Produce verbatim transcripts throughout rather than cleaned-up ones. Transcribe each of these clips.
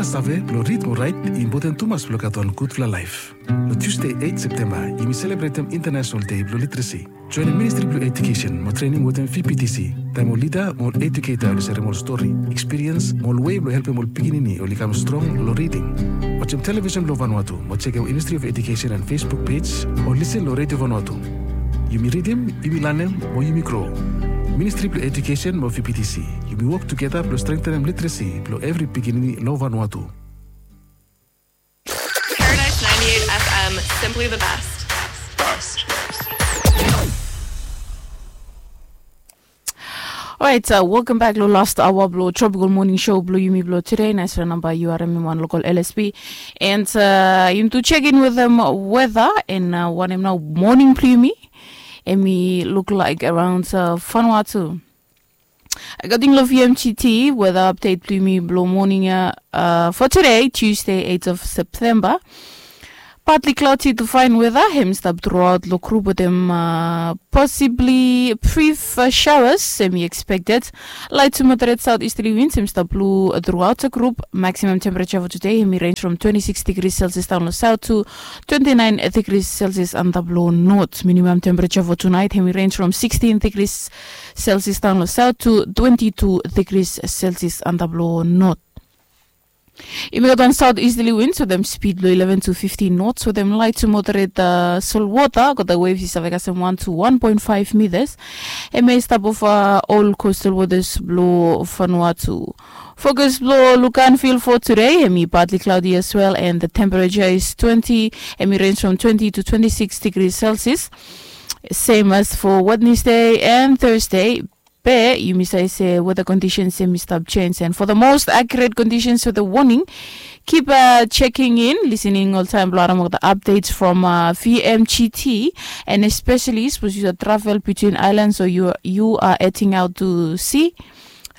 Save blong rid mo raet i impoten tumas blong gat wan gudfala laef. Long Tuesday eight September, yumi selebretem International Day blong Literacy. Joinim Ministry blong Education mo Training wetem V P T C, taem ol lida mo ol eduketa oli serem ol stori, ekspiriens mo ol wei blong helpem ol pikinini oli kam strong long riding. Wajem television blong Vanuatu mo jekem Ministry of Education and Facebook page o lisen long Radio Vanuatu. Yumi ridim, yumi lanem, mo yumi gro. Ministry blong Education mo V P T C, yumi wok tugeta blong strengtenem literacy blong evri pikinini long Vanuatu. Paradise ninety-eight F M, simply the best. Orait, welcome back long last hour blong Tropical Morning Show blong yumi blong today. Naesfala namba yu harem em wan lokal L S P. And yumi tu check in wetem weda and wanem nao moning blong yumi. Em i luk laek around Vanuatu. According long V M G T, weather update blong yumi blong moning ya for today, Tuesday, eight of September. Partly cloudy to fine weather, hem i stap throughout long group wetem possibly brief showers, hem i expected. Light to moderate southeasterly winds, hem i stap blow throughout the group. Maximum temperature for today, hem i range from twenty-six degrees Celsius down long south to twenty-nine degrees Celsius antap long north. Minimum temperature for tonight, hem i range from sixteen degrees Celsius down long south to twenty-two degrees Celsius antap long north. Yumi gat wan southeasterly winds wetem speed blong eleven to fifteen knots wetem light to moderate solwota. Gat waves i save kasem one to one point five meters. Hem i stap ova ol coastal waters blong Vanuatu. Fokus blong look and feel for today, hem i partly cloudy as well and the temperature is twenty, hem i range from twenty to twenty-six degrees Celsius. Same as for Wednesday and Thursday. Be yumi save se weather conditions hem i stap change, and for the most accurate conditions for the warning, keep checking in, listening oltaem blong harem ol updates from V M G T, and especially sapos yu save travel between islands or you are heading out to sea.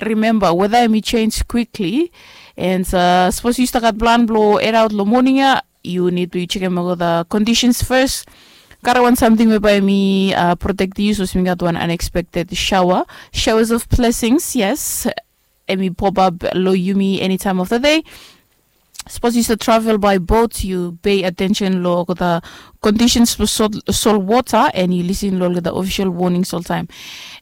Remember, weather hem i change quickly, and sapos yu stap gat plan blong head out long moning ya, yu nid blong yu jekem olgeta conditions first. Karem wan samting we bae hem i protect yu sapos yumi gat wan unexpected shower. Showers of blessings, yes, hem i pop up long yumi any time of the day. Sapos yu save travel by boat, yu pay attention long olgeta conditions blong solwota, and yu lisin long olgeta official warnings oltaem.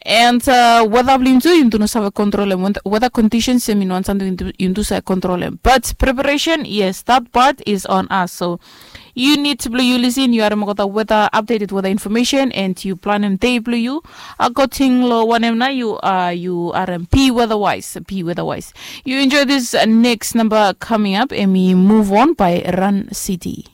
And weather blong yumi tu, yumi tu no save kontrolem. Weather conditions hem i no wan samting yumi tu save kontrolem, but preparation, yes, that part is on us. So yu nid blong yu lisin, yu harem olgeta weather, updated weather information, and yu planem dei blong yu according long wanem nao yu harem. Be weather wise, be weather wise. Yu enjoy this next number coming up, hem i Move On by Run City.